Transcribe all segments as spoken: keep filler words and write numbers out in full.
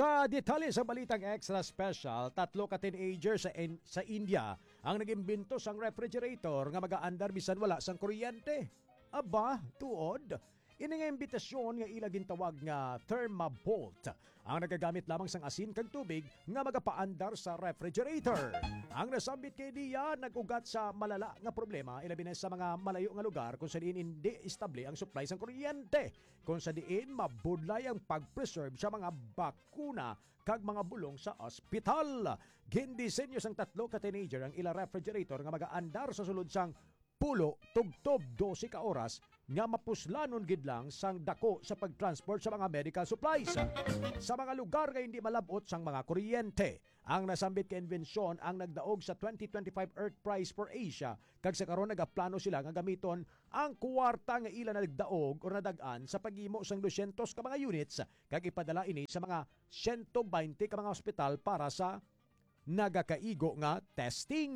Sa detalye sa balitang extra special, tatlo ka teenager sa In-, sa India ang nag-imbento sang refrigerator nga magaandar bisan wala sang kuryente. Aba, tuod? Ini nga imbitasyon nga ila gintawag nga Thermabolt ang nagagamit lamang sang asin kag tubig nga magapaandar sa refrigerator. Ang nasambit kay Dia nag-ugat sa malala nga problema, ilabi na sa mga malayo nga lugar kung sa diin hindi estable ang supply sang kuryente, kung sa diin mabudlay ang pag-preserve sa mga bakuna kag mga bulong sa ospital. Gindisenyo sang tatlo ka teenager ang ila refrigerator nga magaandar sa sulod sang pulo tubtob dose ka oras nga mapuslanon gid lang sang dako sa pag-transport sa mga medical supplies sa mga lugar nga hindi malab-ot sang mga kuryente. Ang nasambit ka imbensyon ang nagdaog sa twenty twenty-five Earth Prize for Asia, kag sa karon nagaplano sila nga gamiton ang kuwarta nga ila nagdaog o nadag-an sa paghimo sang dosyentos ka mga units kag ipadala ini sa mga siyento baynte ka mga ospital para sa nagakaigo nga testing.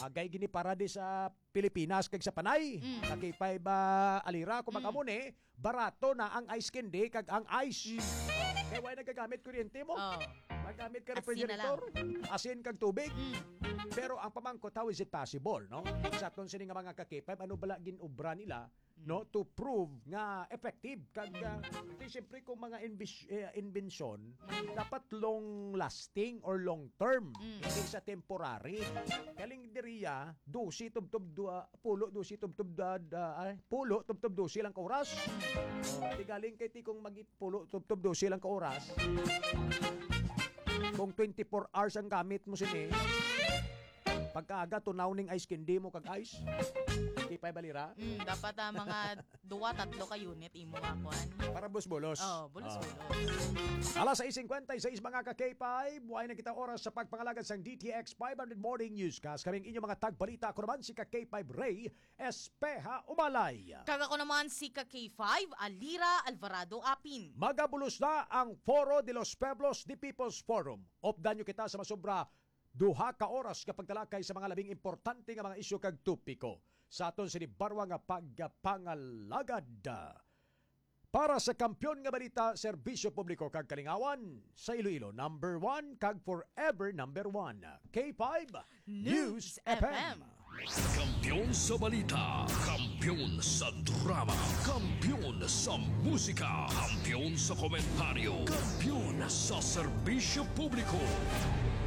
Bagay gini para di sa Pilipinas kag sa Panay. Mm. Ka K five, ah, Alira, kung Mm. makamuni, barato na ang ice candy kag ang ice. Mm. Kay wala nagagamit kuryente mo. Oh. Magamit ka Asin na lang. refrigerator, asin kag tubig. Mm. Pero ang pamangkot, how is it possible, no? Sa aton sini nga mga ka K five, ano bala gin-obra nila, no, to prove nga effective? Kag, ah, di, siyempre, kung mga inbis-, eh, inbensyon, dapat long lasting or long term, Mm. hindi sa temporary. Galing diriya, dose tubtob dua, pulo, dose tubtob da, da, ay, pulo tubtob dose lang ka oras. Oh, di galing kay ti kung magi pulo tubtob dose lang ka oras. Kung twenty-four hours ang gamit mo sini, pagkaaga, tunaw ning ice candy mo kag ice. Di pa balira. Mm, dapat, ah, mga duwa, tatlo ka unit imo nga kuan. Para bulos-bulos. Oh, bulos-bulos. Ah. Alas sais cincuenta y seis, mga ka K five, buhay na kita oras sa pagpangalagad sang D T X five hundred Morning Newscast. Kaming inyong mga tagbalita, ako naman si ka K five Ray Espeha Umalay. Kag ako naman si ka K five, Alira Alvarado Apin. Magabulos na ang Foro de los Pueblos de People's Forum. Updan nyo kita sa masobra duha ka oras nga pagtalakay sa mga labing importante nga mga isyu kag topiko sa aton sini barwa nga pagpangalagad. Para sa Kampiyon nga Balita, Serbisyo Publiko kag Kalingawan, sa Iloilo, number one kag forever number one, K five News News F M. F M. Kampiyon sa balita, kampiyon sa drama, kampiyon sa musika, kampiyon sa komentaryo, kampiyon sa serbisyo publiko.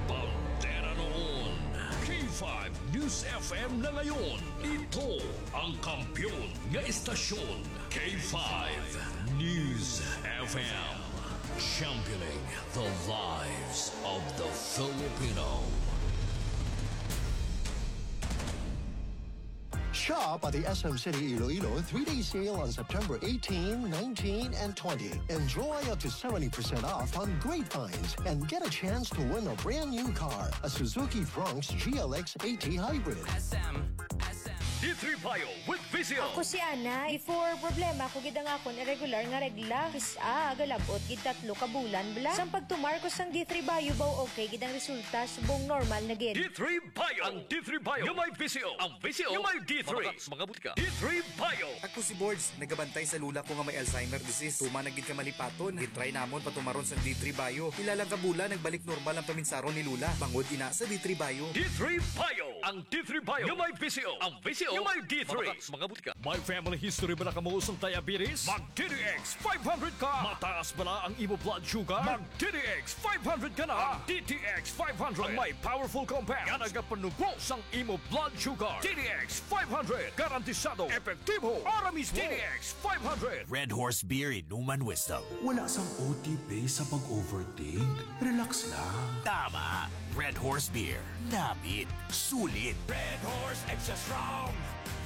Bandera noon, K five News F M na ngayon. Ito ang kampiyon nga istasyon, K five News F M. Championing the lives of the Filipino. Shop at the S M City Iloilo three-day sale on September eighteen, nineteen, and twenty. Enjoy up to seventy percent off on great finds and get a chance to win a brand new car, a Suzuki Bronx G L X eighty Hybrid. S M, S M. D three Bio with Vision. Ako si Ana. Before, problema ko gid ang akon irregular nga regla. Kis-a, galabot gid tatlo ka bulan bala. Sang pagtumar ko sang D three Bio, baw okay gid ang resulta, subong normal na gid. D three Bio. Ang D three Bio nga may Vision. Ang Vision nga may D three. Mga, mga butika. D three Bio. Ako si Borge, nagabantay sa lula ko nga may Alzheimer disease. Tuman na gid ka malipaton. Gitry namon patumaron sang D three Bio. Pila lang ka bulan, nagbalik normal ang paminsaron ni lula. Bangod ina sa D three Bio. D three Bio. Ang D three Bio nga may Vision. Ang Vision nga may D three. Mga, mga butika. May family history bala kamo sang diabetes? Mag D T X five hundred ka. Mataas bala ang imo blood sugar? Mag D T X five hundred ka na. Ang D T X five hundred ang may powerful compound nga nagapanubo sang imo blood sugar. D T X five hundred, garantisado, epektibo, ara mismo. D T X five hundred. Red Horse Beer, inuman wisdom. Wala sang O T P sa pag-overthink. Relax lang. Tama. Red Horse Beer. Namit. Sulit. Red Horse Extra Strong,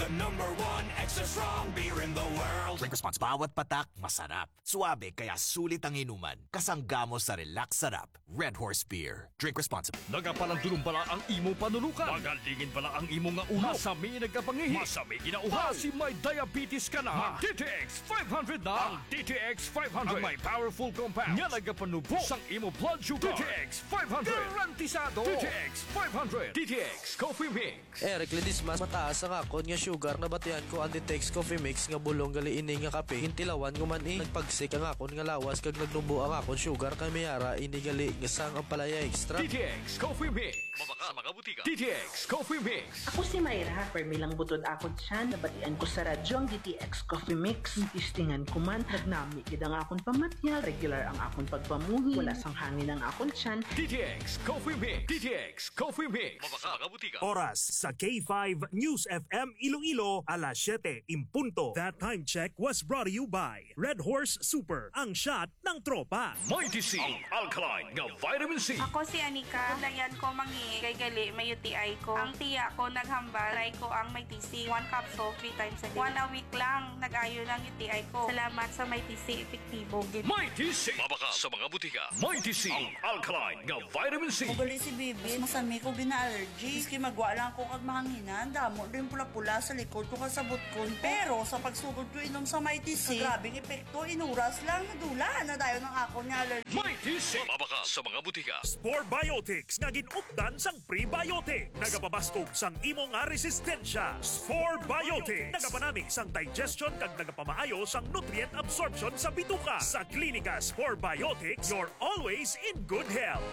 the number one extra strong beer in the world. Drink responsible. Bawat patak, masarap. Suabe, kaya sulit ang inuman. Kasangga mo sa Relax Sarap. Red Horse Beer. Drink responsibly. Nagapalandulong bala ang imo panulukan? Magalingin bala ang imo nga ulo? Masami nagkapangihi? Masami ginauhaw? Basi may diabetes ka na? Mag D T X five hundred na. Ang D T X five hundred ang may powerful compound nga nagapanubo sang imo blood sugar. D T X five hundred. Garantisado. D T X five hundred. D T X Coffee Mix. Eric Ledesma, mataas ang akon nga sugar, nabatian ko ang Ditex Coffee Mix nga bulong gali ini nga kape. Gintilawan ko man, eh, nagpagsik ang akon nga lawas kag nagnubo ang akon sugar, kay may ara ini gali nga sang ampalaya extract. D T X Coffee Mix. Mabakal sa mga butika. D T X Coffee Mix. Ako si Myra, permi lang butod akon tiyan. Nabatian ko sa radyo ang D T X Coffee Mix. Testingan ko man, nagnami gid ang akon pamatyag. Regular ang akon pagpamuhi. Wala sang hangin ang akon tiyan. D T X Coffee Mix. D T X Coffee Mix. Mabakal sa mga butika. Oras sa K five News F M Iloilo, alas siyete en punto. That time check was brought to you by Red Horse Super, ang shot ng tropa. Mighty C, ang alkaline nga vitamin C. Ako si Anika. Layan ko mangi kay gali may U T I ko. Ang tiya ko naghambal, try ko ang Mighty C. One capsule, three times a day. One a week lang, nag-ayo lang U T I ko. Salamat sa Mighty C, epektibo gid. Mighty C. Mabakal sa mga butika. Mighty C, ang alkaline nga vitamin C. Ugali si Bibi, masami ko gina-allergy. Maski magwa lang ko kag mahanginan, damo din pula-pula sa likod ko kag sa butkon ko. Pero sa pagsugod ko inom sa Mighty C, grabing epekto, inuras lang, nadula na dayon ang akon nga allergy. Mighty C. Mabakal sa mga butika. Spore Biotics nga gin-updan sang prebiotic. Nagapabaskog sang imo nga resistensya. Spore Biotics. Nagapanami sang digestion kag nagapamaayo sang nutrient absorption sa bituka. Sa Klinika Spore Biotics, you're always in good health.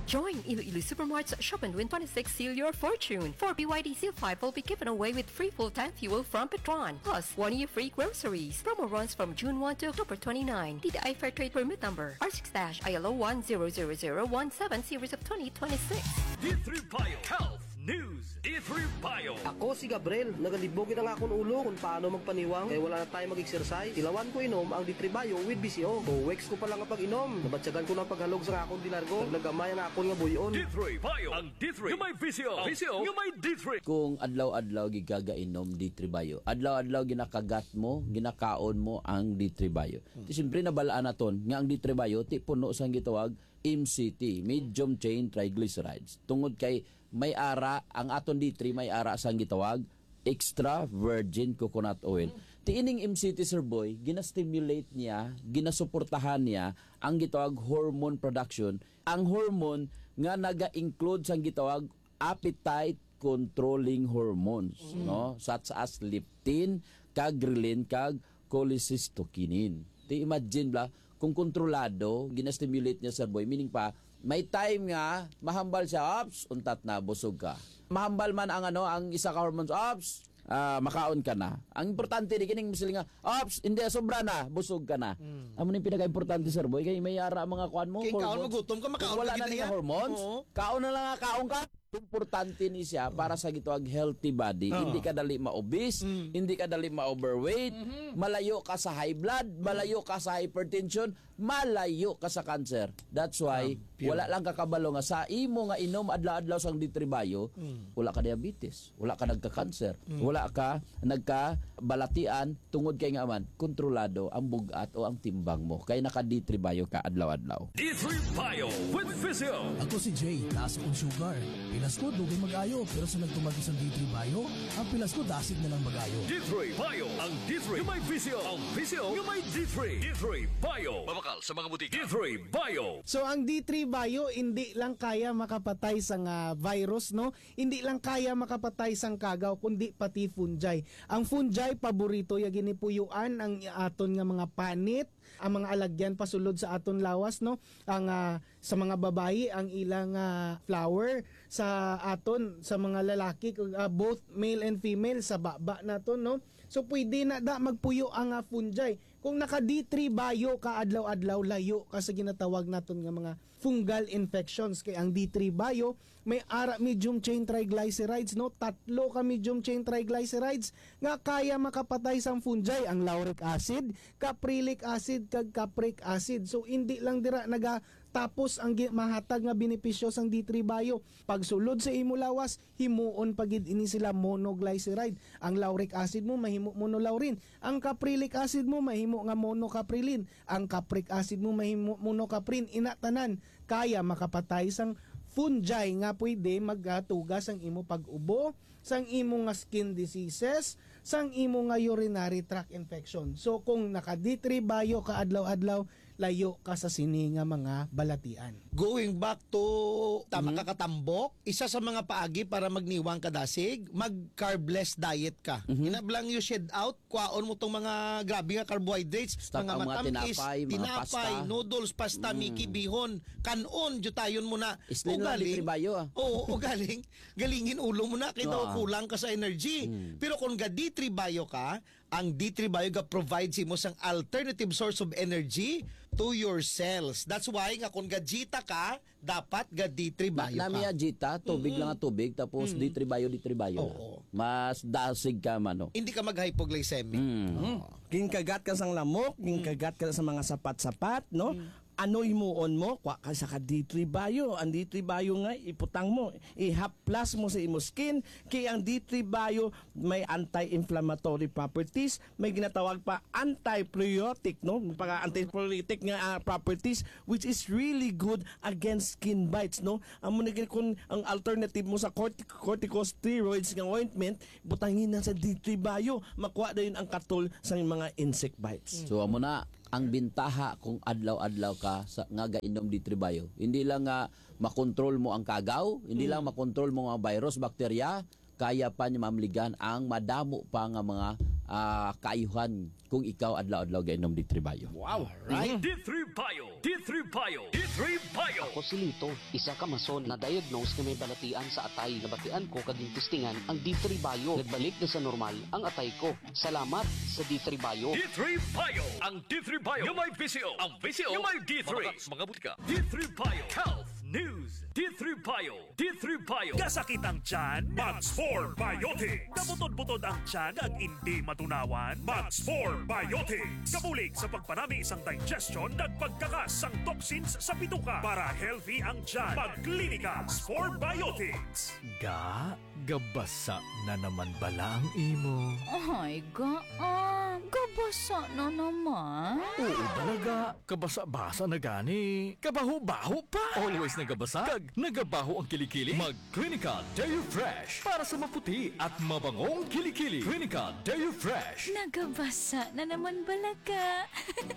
Join Iloilo Supermart's Shop and Win twenty-six Seal Your Fortune. Four B Y D C five will be given away with free full-tank fuel from Petron, plus one year free groceries. Promo runs from June one to October twenty-nine. D T I Fair Trade Permit Number R six dash I L O one zero zero zero one seven, series of twenty twenty-six. D three Bio Health News. D three Bio. Ako si Gabriel. Nagalibog gid ang akon ulo kung paano magpaniwang kay wala na tayo mag-exercise. Tilawan ko inom ang D three Bio with V C O. Two weeks ko pa lang ang pag-inom, nabatyagan ko na ang paghalog sa akon di largo. Naglagamay ang akon nga buy-on. D three Bio. Ang D three nga may V C O. V C O nga may D three. Kung adlaw-adlaw gid ka gainom D three Bio, adlaw-adlaw ginakagat mo, ginakaon mo ang D three Bio. Hmm. Ti siyempre, nabalaan naton nga ang D three Bio ti puno sang gitawag M C T, medium chain triglycerides. Tungod kay may ara, ang aton D three may ara sang gitawag extra virgin coconut oil. Hmm. Ti ining M C T, Sir Boy, ginastimulate niya, ginasuportahan niya ang gitawag hormone production, ang hormone nga naga-include sang gitawag appetite controlling hormones, mm, no? Such as leptin, kag ghrelin, kag cholecystokinin. Ti imagine bala, kung kontrolado, ginastimulate niya, Sir Boy, meaning pa, may time nga mahambal siya, ops, untat na, busog ka. Mahambal man ang, ano, ang isa ka hormones, ops, ah, makaon ka na. Ang importante di kining masiling nga, ops, hindi, sobra na, busog ka na. Mm. Amo ni pinaka-importante, Sir Boy, kay may ara mga kuan mo, kay kaon, hormones. Magutom ka, makaon. Kung wala ka na gid niya niya. Hormones, oo, kaon na lang nga kaon ka. Importante ni siya para sa gitawag healthy body. Oo. Hindi ka dali ma-obese, mm, hindi ka dali ma-overweight, mhm, malayo ka sa high blood, mm, malayo ka sa hypertension, malayo ka sa cancer. That's why, ah, pure, wala lang ka kabalo nga sa imo nga inom adlaw-adlaw sang D three Bio, mm, wala ka diabetes, wala ka nagka-cancer, mm, wala ka nagkabalatian, tungod kay nga man, kontrolado ang bug-at o ang timbang mo, kay naka D three Bio ka adlaw-adlaw. D three Bio with Physio. Ako si Jay, taas akong sugar. Pilas ko, dugay mag-ayo, pero sa nagtumag ko sang D three Bio, ang pilas ko dasig na lang mag-ayo. D three Bio, ang D three nga may Physio, ang Physio nga may D three. D three Bio. Mabakal sa mga butika. D three Bio. So, ang D three Bio, hindi lang kaya makapatay sang virus, no? Hindi lang kaya makapatay sang kagaw, kundi pati fungi. Ang fungi, paborito ya gini puyuan ang aton nga mga panit, ang mga alagyan pasulod sa aton lawas, no? Ang, ah, sa mga babayi, ang ilang, ah, flower, sa aton, sa mga lalaki, ah, both male and female, sa baba naton, no? So, pwede na da magpuyo ang, ah, fungi. Kung naka D three Bio ka adlaw-adlaw, layo ka sa ginatawag naton nga mga fungal infections. Kay ang D three Bio, may ara medium chain triglycerides, no? Tatlo ka medium chain triglycerides nga kaya makapatay sang fungi, ang lauric acid, caprylic acid, kag capric acid. So, hindi lang dira nagatapos ang gi-, mahatag nga benepisyo sang D three Bio. Pagsulod sa imo lawas, himuon pa gid ini sila monoglyceride. Ang lauric acid mo mahimo monolaurin. Ang caprylic acid mo mahimo nga monocaprilin. Ang capric acid mo mahimo monocaprin. Ina tanan kaya makapatay sang fungi nga pwede magatuga sang imo pag-ubo, sang imo nga skin diseases, sang imo nga urinary tract infection. So, kung naka D three Bio ka adlaw-adlaw, Layo ka sa sini nga mga balatian. Going back to tama Mhm. ka katambok, isa sa mga paagi para magniwang ka dasig, mag carbless diet ka. Mhm. Ina lang you shed out, kwaon mo tong mga grabe nga carbohydrates, Stock mga ang mga matamis, tinapay, mga tinapay, pasta. noodles, pasta, Mm. Mickey, bihon, kanon, jutayon mo na. Isli na lang Ugaling, di tribayo, ah. Oo, ugaling, galingin ulo mo na, kay daw Ah. kulang ka sa energy. Mm. Pero kung ga D three Bio ka, ang D three Bio ga provide sa imo sang alternative source of energy to your cells. That's why nga kung ga Jita ka, dapat ga D three Bio Na, ka. nami ya Jita, tubig Mm-mm. lang ang tubig, tapos Mm. D three Bio, D three Bio na. Oo. Mas dasig ka, mano. Hindi ka mag-hypoglycemic. Mm. Oo. Ginkagat ka sang lamok, Mm. ginkagat ka sa mga sapat-sapat, no? Mm. Ano himuon mo? Kwa ka sa ka D three Bio. Ang D three Bio nga, iputang mo. Ihaplas mo sa imo skin. Kay ang D three Bio may anti-inflammatory properties, may ginatawag pa antipruriotic, no? Pag antipruriotic nga, ah, properties, which is really good against skin bites, no? Amo na gid kung ang alternative mo sa cortic-, corticosteroids nga ointment, butangin na sa D three Bio, makuha dayon ang katol sa mga insect bites. So, amo na ang bintaha kung adlaw-adlaw ka sa, nga gainom D three Bio. Hindi lang nga makontrol mo ang kagaw, hindi Mm. lang makontrol mo ang virus, bakterya, kaya pa niya mamligan ang madamo pa nga mga, ah, kaayuhan kung ikaw adlaw-adlaw gainom D three Bio. Wow! Right. D three Bio! D three Bio! D three Bio! Ako si Lito, isa ka mason na diagnose nga may balatian sa atay. Nabatian ko kag gintistingan ang D three Bio. Nagbalik na sa normal ang atay ko. Salamat sa D three Bio. D three Bio! Ang D three Bio nga may V C O. Ang V C O nga may D three. Mga, mga butika. D three Bio Health News. D three Bio. D three Bio. Kasakit ang tiyan? Mag Spore Biotics. Kabutod-butod ang tiyan kag hindi matunawan? Mag Spore Biotics. Kabulig sa pagpanami sang digestion kag pagkakas sang toxins sa bituka para healthy ang tiyan. Mag Klinika Spore Biotics. Ga, gabasa na naman bala ang imo? Ay, ga, ah, gabasa na naman. Oo, talaga. Kabasa-basa na gani. Kabaho-baho pa. Always nagabasa. Kag nagabaho ang kilikili. Mag Clinica Deo Fresh para sa maputi at mabangong kilikili. Clinica Deo Fresh. Nagabasa na naman bala ka.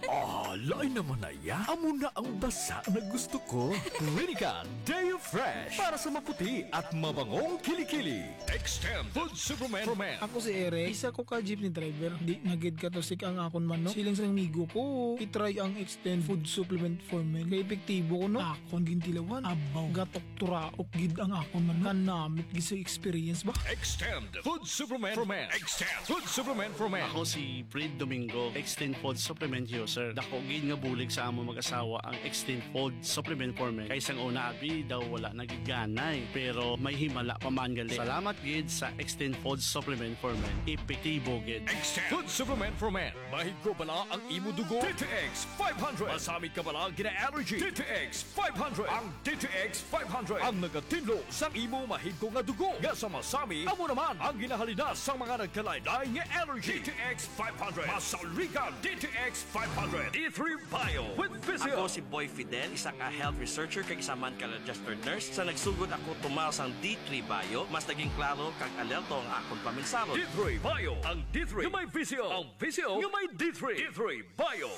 Ah, lain naman na ya. Amo na ang basa na gusto ko. Clinica Deo Fresh para sa maputi at mabangong kilikili. Extend Food Supplement for Men. Ako si Eric. Isa ko ka jeepney driver. Di na gid katusik ang akon manok. Siling sa amigo ko, i-try ang Extend Food Supplement for Men. Kay epektibo ko, no? Akon gintilawan. Abaw. Gatok turaok gid ang akon manok. Kanamit gid sa experience ba? Extend Food Supplement for Men. Extend Food Supplement for Men. Ako si Fred Domingo, Extend Food Supplement User. Dako gid nga bulig sa among mag-asawa ang Extend Food Supplement for Men. Kay sang una, abi, daw wala na gid ganay. Pero may himala pa man gali. Salamat gid sa Extend Food Supplement for Men. Epektibo gid. Extend Food Supplement for Men. Mahigko bala ang imo dugo? D T X five hundred. Masamit ka bala gina-allergy? D T X five hundred. Ang D T X five hundred ang nagatinlo sang imo mahigko nga dugo nga sa masami. Amo naman ang ginahalinas sang mga nagkalain-lain nga allergy. D T X five hundred. Masaligan D T X five hundred. D three Bio with Physio. Ako si Boy Fidel, isa ka health researcher kag isa man ka registered nurse. Sa nagsugod ako tumaw sang D three Bio, mas naging klaro kag alerto ang akon paminsaro. D three Bio, ang D three nga may Physio. Ang Physio nga may D three. D three Bio.